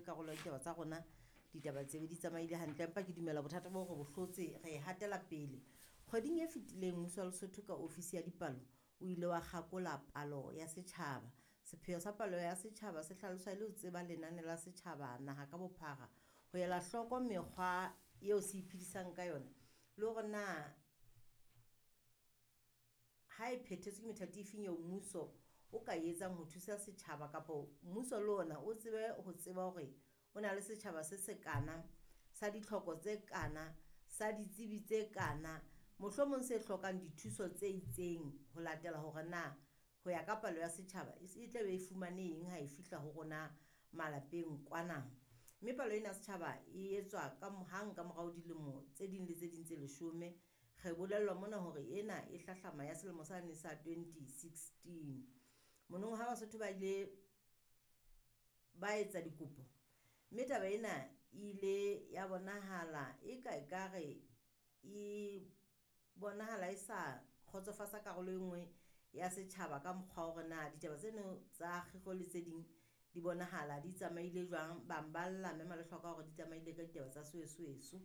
be karolo ya ditaba tsa rona, ditaba tsebe di tsamaile hantle. Empa ke dumela bothata bo re bo hlotse, re e hatela pele. Kgweding e fetileng mmuso wa Lesotho ka ofisi ya dipalo o ile wa kgakola palo ya setjhaba. Sepheo sa palo ya setjhaba se hlaloswa e le ho tseba lenane la setjhaba naha ka bophara, ho ela hloko mekgwa eo se iphedisang ka yona le hore na ha e phethetswe ke methati e feng eo mmuso o ka e etsang ho thusa setjhaba, kapa mmuso le ona o tsebe ho tseba hore o na le setjhaba se sekana, sa ditlhoko tse kana, sa ditsebi tse kana, mohlomong se hlokang dithuso tse itseng ho latela hore na ho ya ka palo ya setjhaba e tla be e fumane eng ha e fihla ho rona malapeng kwana. Mme palo ena ya setjhaba e etswa ka hang ka morao dilemo tse ding le tse ding tse 10. Re bolellwa mona hore ena e hlahlama ya selemo sane sa 2016. Monong ha Basotho ba ile ba etsa dikopo, mme taba ena e ile ya bonahala e ka ekare e bonahala e sa kgotsofatsa karolo e nngwe ya setjhaba ka mokgwa wa hore na ditaba tseno tsa kgiro le tse ding di bonahala di tsamaile jwang. Bang ba lla mme Malehlwa ka hore di tsamaile ka ditaba tsa soesoeso.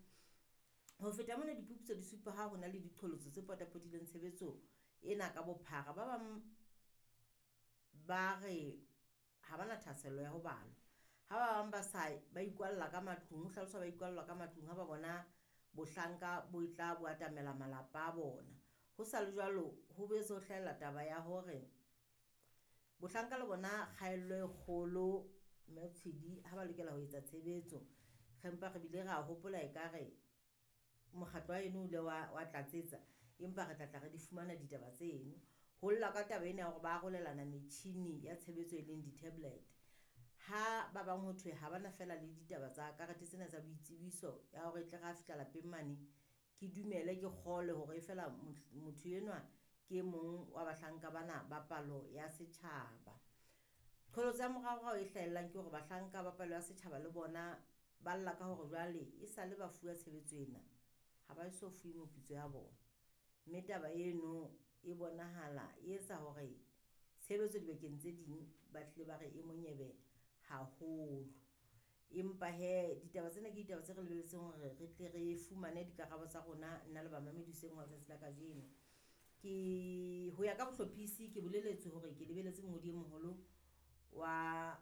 Ho feta mona, diphuputso di supa ha ho na le diqholotso tse potapotileng tshebetso ena ka bophara. Ba bang ba re ha bana thahasello ya ho balwa, ha ba bang ba sa ba ikwalla ka matlung, ho hlaloswa ba ikwalla ka matlung ha ba bona bohlanka bo tla bo atamela malapa a bona. Ho sa le jwalo, ho boetse ho hlahella taba ya hore bohlanka le bona kgaello e kgolo Mme Tshidi ha ba lokela ho etsa tshebetso. Re mpa re bile ra hopola ekare mokgatlo wa eno o ile wa tlatsetsa, empa re tla tla re di fumana ditaba tseno. Ho lla ka taba ena ya hore ba arolelana metjhini ya tshebetso e leng di-tablet. Ha ba bang ho thwe ha bana feela le ditaba tsa karete tsena tsa boitsebiso ya hore e tle re ha fihla lapeng mane ke dumele ke kgolwe hore feela motho enwa ke e mong wa bahlanka bana ba palo ya setjhaba. Qholotso ya moraorao e hlahellang ke hore bahlanka ba palo ya setjhaba le bona ba lla ka hore jwale e sale ba fuwa tshebetso ena, ha ba eso fuwe moputso ya bona. Mme taba eno e bonahala e etsa hore tshebetso dibakeng tse ding ba hlile ba re e monyebe haholo. Empa he ditaba tsena ke ditaba tse re lebelletseng hore re tle re fumane dikarabo tsa rona nna le bamamedi hoseng hwa letsatsi la kajeno. Ke ho ya ka bohlophisi ke boleletswe hore ke lebeletse mongodi e moholo wa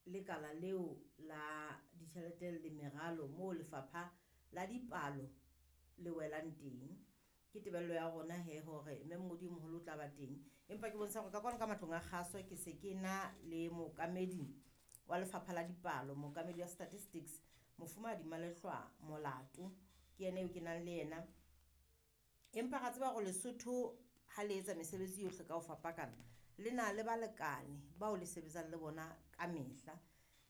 lekala leo la ditjhelete le meralo moo lefapha la dipalo le welang teng. Ke tebello ya rona he hore mme mongodi e moholo o tla ba teng. Empa ke bontsha hore ka kwano ka matlong a kgaso ke se ke na le mookamedi wa lefapha la dipalo, mookamedi wa statistics, Mofumahadi Malehlwa Molato, ke yena eo ke nang le yena. Empa ra tseba hore Lesotho ha le etsa mesebetsi yohle ka ho fapakana, le na le balekane bao le sebetsang le bona ka mehla.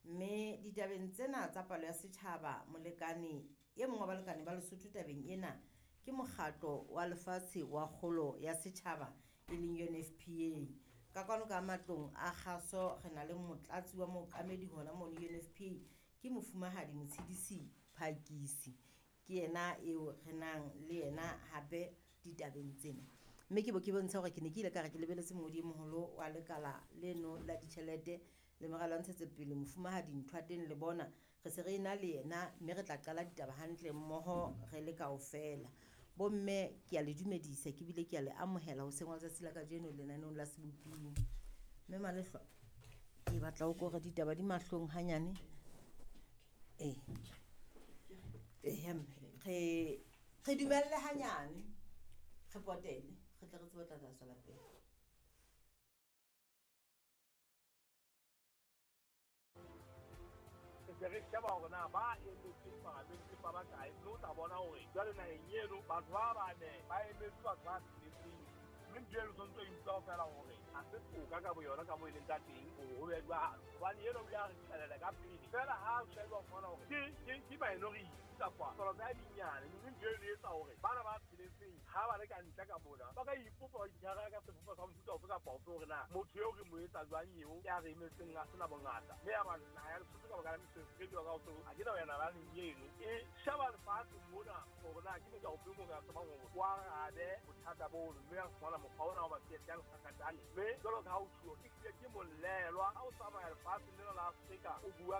Mme ditabeng tsena tsa palo ya setjhaba, molekane e mong wa balekane ba Lesotho tabeng ena ke mokgatlo wa lefatshe wa kgolo ya setjhaba e leng UNFPA. Ka kwano ka matlong a kgaso re na le motlatsi wa mookamedi hona mono UNFPA ke Mofumahadi Motshidisi Phakisi, ke yena eo re nang le yena hape ditabeng tsena. Mme ke bo ke bontsha hore ke ne ke ile ka re ke lebeletse mongodi e moholo wa lekala leno la ditjhelete le meralo ya ntshetsopele Mofumahadi Nthoateng le bona re se re ena le yena, mme re tla qala ditaba hantle mmoho re le kaofela. Bomme ke a le dumedisa ke bile ke a le amohela hoseng hwa letsatsi la kajeno lenaneong la Seboping. Mme Malehlwa, ke batla o kore ditaba di mahlong hanyane. Mme re dumelle hanyane, re potele, re tle re tsebe ho tla tswela pele. Se re sheba hore na ba emetseng palamente ba bakae, mme o tla bona hore jwale naheng eno batho ba bane ba emetse batho ba tsheletseng, mme ntho eno tshwanetse o e utlwa feela hore ha se toka ka boyona ka moo e leng ka teng hore ho be jwalo, hobane eno o ile a re qhelela ka pele feela ha o sheba o fumana hore ke minority kapa palo tsa dinyane, mme ntho eno e etsa hore bana ba tsheletseng ha ba le ka ntle ka mona ba ka ipopa ba itshwara ka sebopo sa mofuta ofe kapa ofe hore na motho eo re mo etsa jwang eo ya re emetseng a sena bongata. Mme ya ba naha ya Lesotho ka baka la mesebetsi e ka ho ha ke na ho ya nalaneng eno e sheba lefatshe mona hore na ke motho ofe mo ka tsebang hore o arabe bothata bono, mme a fumana mokgwa ona wa ba tsietsang sakatane. Mme jwalo ka ha o tjhuo, e hlile ke molelwa ha o tsamaya lefatsheng lena la Afrika o bua